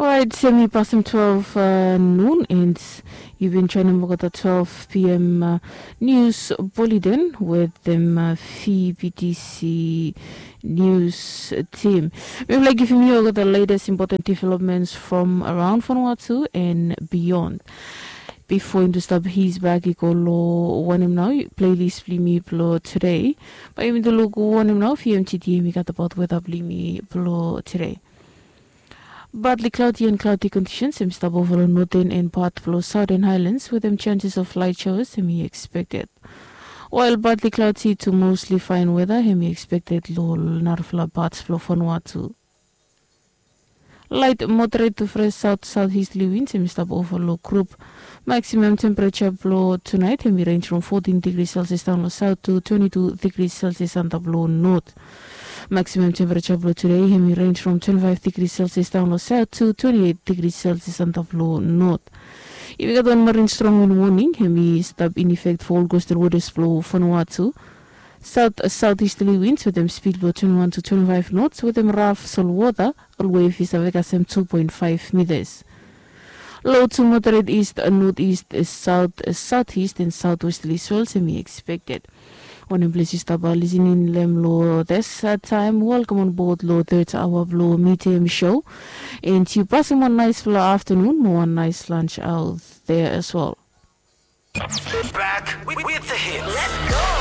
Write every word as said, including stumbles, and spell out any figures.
Orait, hemi pasem twelve nun, and yu bin joenem olgeta twelve p.m. Nius Bulletin wetem VBTC Nius Tim. Mi laik givim yu olgeta latest important developments from around Vanuatu and beyond. Bifo yumi stap his bak i go lo wanem nao playlist blong yumi blo today. Bae yumi tu luk wanem nao VMTT hemi gat abaot weta blong yumi blo today. Badli klaudi and klaudi kondisens hemi stap ova lo noten and pat blo saoten haelans wetem chanses of lait shaoas hemi ekspekted. Wael badli klaudi tu mosli faen weta hemi ekspekted lo narafala pats blo Vanuatu. Lait moderet tu fres saot saot istli wins hemi stap ova lo grup. Maksimam tempereja blo tunaet hemi renj from fotin digri selsias daon lo saot tu twenti tu digri selsias antap lo not. Maksimam tempereja blo tude hemi renj from twenti faef digri selsias daon lo saot tu twenti eit digri selsias antap lo not. Yumi gat wan marin strong win woning hemi stap in efek fo ol kostal wotas blo Vanuatu. Saot saot istli wins wetem spid blo twenti wan tu twenti faef nots wetem raf solwota. Ol wef i save kasem tu poen faef mitas. Lo tu moderet ist, notist, saot saotist and saotwestli swels hemi ekspekted. Wanem ples yu stap lisening long hem lo this taem, welcome on board lo third hour blo Midem Show. And yu pasem wan naesfala aftanun mo wan naes lunch out there as well. Back with the hits.